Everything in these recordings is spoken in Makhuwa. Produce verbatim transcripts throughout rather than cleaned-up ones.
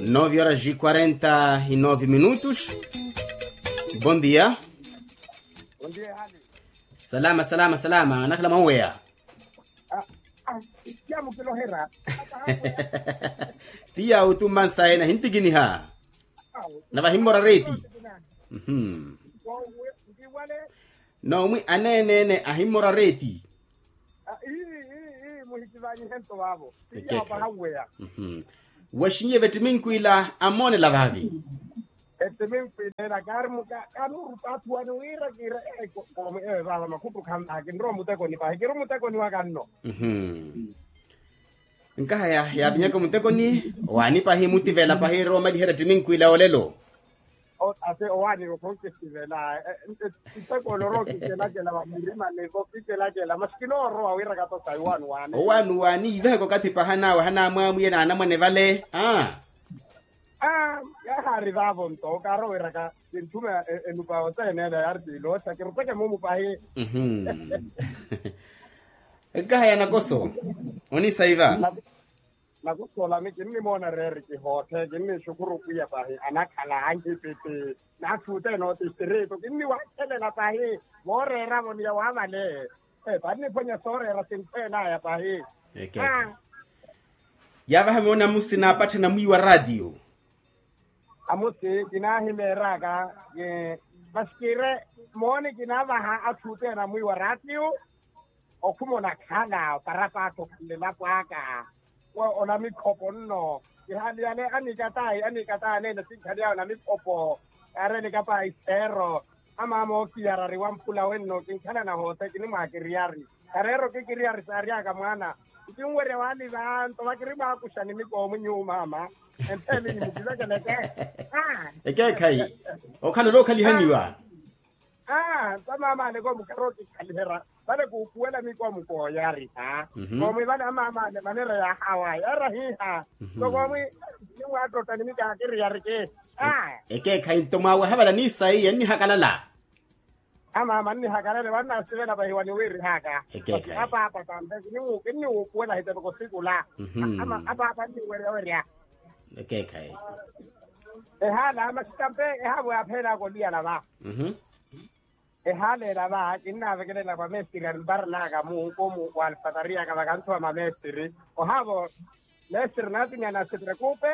Nove horas e quarenta e nove minutos. Bom dia. Salama salama salama nakhala mwaweya. Tiya utumansaye nahintikiniha. Navahimmora reti. Nomwi aneenene ahimmora reti. Muhitivanyihe nto vavo. Tiya pahaweya. Wexinyiye vettiminkwila amonela vavi. Ettiminkwila ela kaari muka kanurupa athu wani wira kira. Komi ewe vava makhuttu khanvaha kinrowa mutekoni pahi kiri mutekoni waka nno. Nkahaya yavinyaka mutekoni. Wani pahi mutivela pahi rowa omaliherya ettiminkwila olelo. Ate owaani okhonkisivela. Ntekoni orowa okikelakela vamurima nivo kikelakela masi kinoorowa wira kato sayi owaani waani. Owaani waani iveheka okathi paha nawe hanamwamwiye na anamwane vale a. Aa. Yahaari vaavo nto okaarowiraka kintthuma enupa oseneela yaari tiiloosa kirupeke mumu pahi. Nkahaya nakoso onisaiva. Nakoso olami kinnimoona reeri kihootthe kinnixukhuru pwiya pahi anakhala ankhipiti. Naathuuteene otistritu kinniwaakhelela pahi. Vooreeravo ni yawaavale. Vanniphonya sooreera sinkhweenaya pahi. Yaavaha moona amusi naapatthana mwiiwa raatiyo. Amusi kinaahimeeraka. Masi kiire mooni kinaavaha atthu othene amwiiwa raatiyo. Okhuma onakhala oparapatho khanlelapo aka. Onamikhopo nno. Kihaliyale anikatayi anikatayi aneene sinkhaliyaya onamikhopo. Kaareeleka pahi seero. Amaama ookiyarari wamphula wenno kinkhalana hoothe kinimwaakiriyari. Kareero kikiriyari saaryaka mwaana. Nkinwerya waaliva nto vakirimwaakuxa nimikoomu nyuwo maama. Entheeni nimukivekeleke. Ekeekhayi. Okhala olookhaliha niwa. Aa nto amaama aleke omukari okikhaliherya. Vale kuupuwela mikoomu kooyariha. Koomwi vale amaama ale manera yaahawa yeera hiiha. Nto koomwi nimwaattotta nimikaakiriyariki. Ekeekhayi nto mwaaweha vale aniisaiye nnihakalala. Amaama nnihakalale vannasivela vahiwa niwiirihaka. Apaapa tampe kinniwuupuwela ahitepeka osikula. Apaapa nniweryawerya. Ehaala masi tampe ehaavo yaapheelaka oliyala va. Ehaala ela va kinnaavekelela kwa mestiri arimparanaka muhuko mu wa alfatariyaka vakanthuwa mamestiri. Ohaavo mestiri onaatimiya nasipirekupe.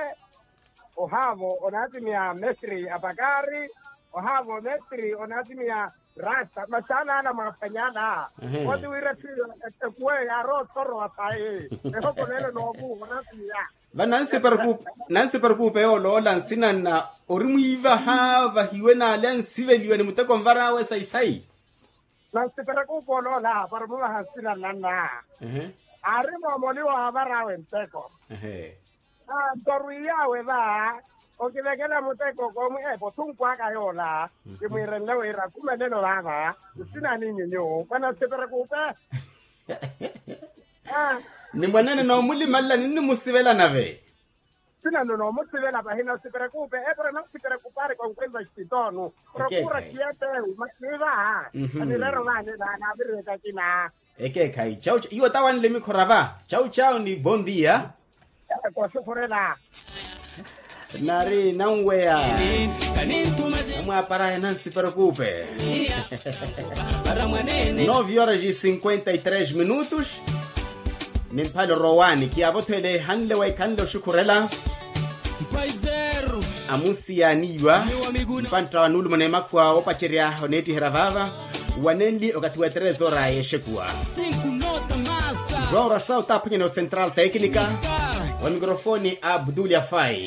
Ohaavo onaatimiya mestiri apakaari. Ohaavo mestiri onaatimiya rasta masi alaala mwaafanyala. Oti wira ekuweyo yaarowa othorowa sayi. Ehokoleelo noovuha onaatimiya. Va nansiperekuupe yooloola nsina nna ori mwiivaha vahiwe n'ale ansiveliwa ni muteko nvar'awe sayi-sayi. Nansiperekuupe oloola para omuvaha nsina nna nna. Aari moomoliwa waavar'awe nteko. Nto orwiiy'awe va okivekela muteko koomwi epo thunku aka yoola. Kimwiirenle wira akumelelo vaava. Nsina ni nyuwo mwa nansiperekuupe. Ni mwanene noomulimalela ninnimusivela nave. Sinano noomusivela vahina osiperekupe epura nosiperekupaari konkwemba xititonu. Prokura siyetehu masivaha anirero vahane vahana aviriheka kina. Ekeekhayi chau iwo tawanle mikhora va chau chau ni bondia. Kosufurela. Nari nanweya. Namwaparaya nansiperekupe. Nove horas e cinquenta e três minutos. Ni mphale orowani kiyavothele hanle waikhanle oxukhurela. Amusi yaaniiwa. Mpantta wa nuulumo n'emakhuwa oopacerya oneettiherya vaava. Wanenli okathi wa tres hora y'exekuwa. João rasaw taaphwanyana o central técnica. Wa mikrofoni abdul yafai.